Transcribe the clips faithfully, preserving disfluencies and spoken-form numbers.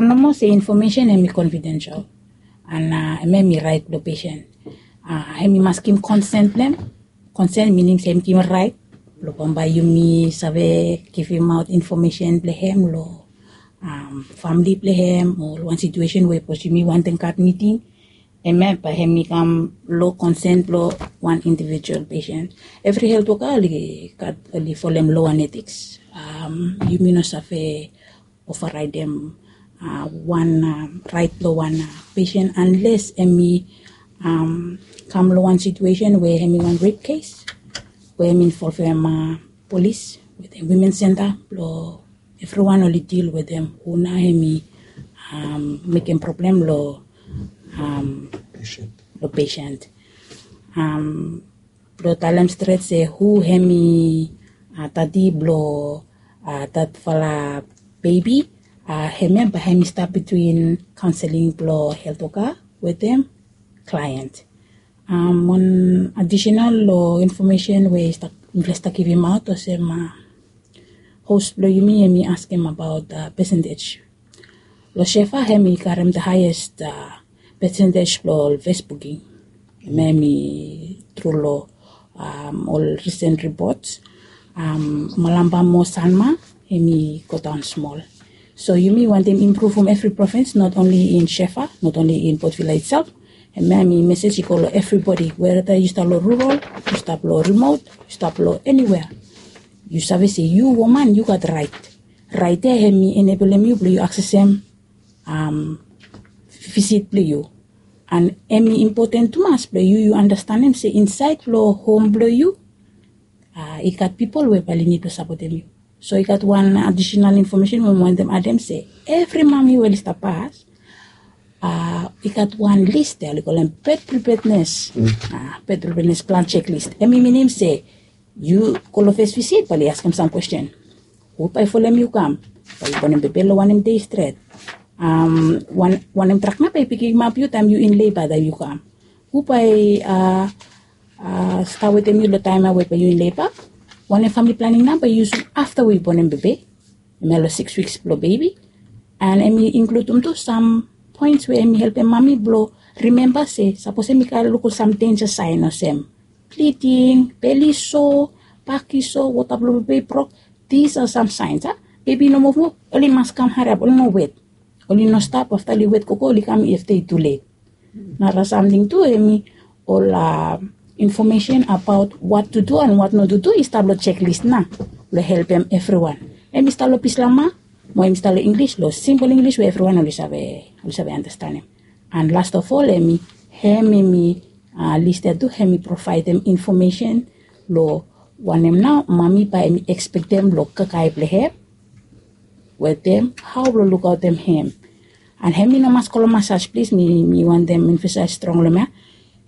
Nomo se infomesen hem i confidential, an hem hem i rait blong pesen. Hem i mas givim konsen blong hem. Konsen mining se hem givim rait blong bambae yumi save givimaot infomesen blong hem long famili blong hem o long wan situesen we sapos yumi wantem gat miting, hem ya bae hem i kam long konsen blong wan individual pesen. Evri helt woka oli gat oli folem lo an etiks. Yumi no save ovaraedem wan rait blong wan pesen anles hem i kam long wan situesen we hem i wan rep kes we hem i involvem polis wetem wimen senta blong evriwan oli dil wetem hu nao hem i mekem problem long long pesen. Blong talem stret se hu hem i dadi blong datfala bebi, hem ya bae hem i stap bitwin kaonseling blong helt woka wetem klaen. Wan adisenal long infomesen we mifala i stap givimaot olsem hos blong yumi hem i askem abaot pesentej. Long sefa hem i karem da haes pesentej blong ol fes buking. Hem i tru long ol risen ripots. Malamba mo sanma hem i godaon smol. So yumi wantem impruvum evri provins, not only in sefa, not only in potvila itself. Hem ya hem i mesej i go long evribodi, weda yu stap long rural, yu stap long rimot, yu stap long eniwea, yu save se yu woman yu gat rait. Rait ya hem i enebelem yu blong yu aksesem visit blong yu. An hem i impoten tumas blong yu yu anastenem se insaed long hom blong yu i gat pipol we bae oli nid blong sapotem yu. So i gat wan adisenal infomesen we mi wantem adem se evri mami we oli stap pas i gat wan lis ya oli kolem bed pripednes. Bed pripednes plan seklis, hem i minim se yu go long fes visit bae oli askem sam kwesten. Hu bae folem yu kam? Bae yu bonem bebe long wanem dei stret? Wanem drak nao bae i pikimap yu taem yu in leba taem yu kam? Hu bae stap wetem yu long taem ya we bae yu in leba? Wanem famili planing nao bae yu yusum afta we yu bonem bebe? Hem ya long siks wiks blong bebi. An hem i inkludum tu sam poens we hem i helpem mami blong rimemba se sapos hem i gat lukim sam denja saen olsem bliding, beli so, baki so, wota blong bebe i brok. Dis a sam saens a bebi i no muv muv, oli mas kam hariap, oli no wet. Oli no stap afta oli wet gogo oli kam afta i tulet. Nara samting tu hem i ol infomesen abaot wat tu du an wat no tu du i stap long seklis nao blong helpem evriwan. Hem i stap long pislama mo hem i stap long inglis, long simpol inglis we evriwan oli save oli save anastenem. An last of ol hem i hem hem i lis ya tu hem i provaedem infomesen long wanem nao mami bae hem i ekspektem long kakae blong hem wetem hao blong lukaotem hem. An hem i no mas go long masas plis, mi wantem emfasaes strong long hem ya.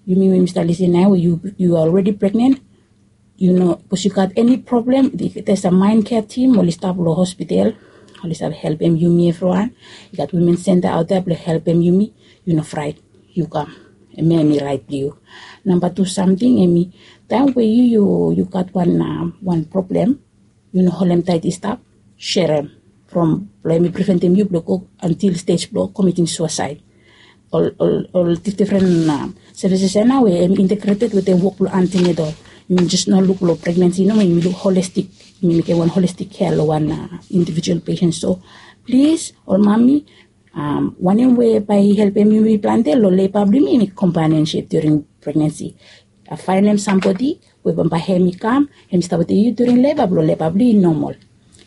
Yumi we yumi stap lisin nao we yu are alredi pregnen, yu no sapos yu gat eni problem, there's a mind care team oli stap long hospital, oli save helpem yumi evriwan. I gat wimen senta aot ya blong helpem yumi. Yu no fraet, yu kam. Hem ya hem i rait blong yu. Namba tu samting hem i taem we yu yu gat wan wan problem, yu no holem taet i stap, serem from blong hem i preventem yu blong go antil stej blong komiting suasaed. Ol ol ol difdifren sevises ya nao we hem i integreted wetem wok blong antinedol. Yumi jes no luk long pregnensi nomo, yumi luk holestik. Yumi mekem wan holestik kea long wan individual pesen. So plis ol mami, wanem we bae i helpem yumi plante long leba blong yumi hem i kompanionsip during pregnensi. Faenem sambodi we bambae hem i kam hem i stap wetem yu during leba blong leba blong yu i nomol.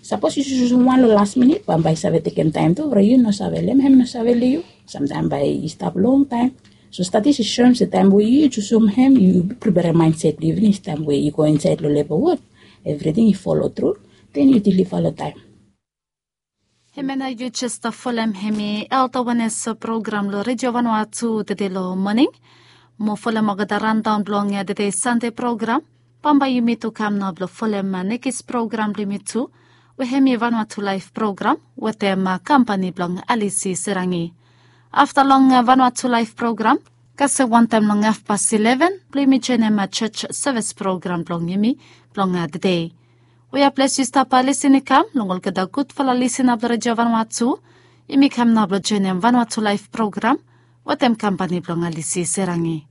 Sapos yu jusum wan long las minit bambae i save tekem taem tu from yu no save long hem hem no save long yu. Samtaem bae i stap longtaem. So stadis i soem se taem we yu jusum hem yu priperem maenset blong yu finis taem we yu go insaed long leba wod, evriting i folo tru, den yu diliva long taem. Hemia nao yu jes stap folem hemi elta wenes program long redio vanua tu tede long moning. Mo folem olgeta randaon blong tede sande program. Bambae yumi tu kam nao blong folem nekis program blong yumi tu, we hemi vanua tu laef program wetem kampani blong alisi serangi. Afta long vanua tu laef program, kasem wantaem long afpas ileven blong yumi joenem joj sevis program blong yumi blong tede. We ya ples yu stap lisin i kam long olgeta gudfala lisina blong redio vanua tu, Yumi kam nao blong joinim Vanuatu Laef program wetem kampani blong Alisi Serangi.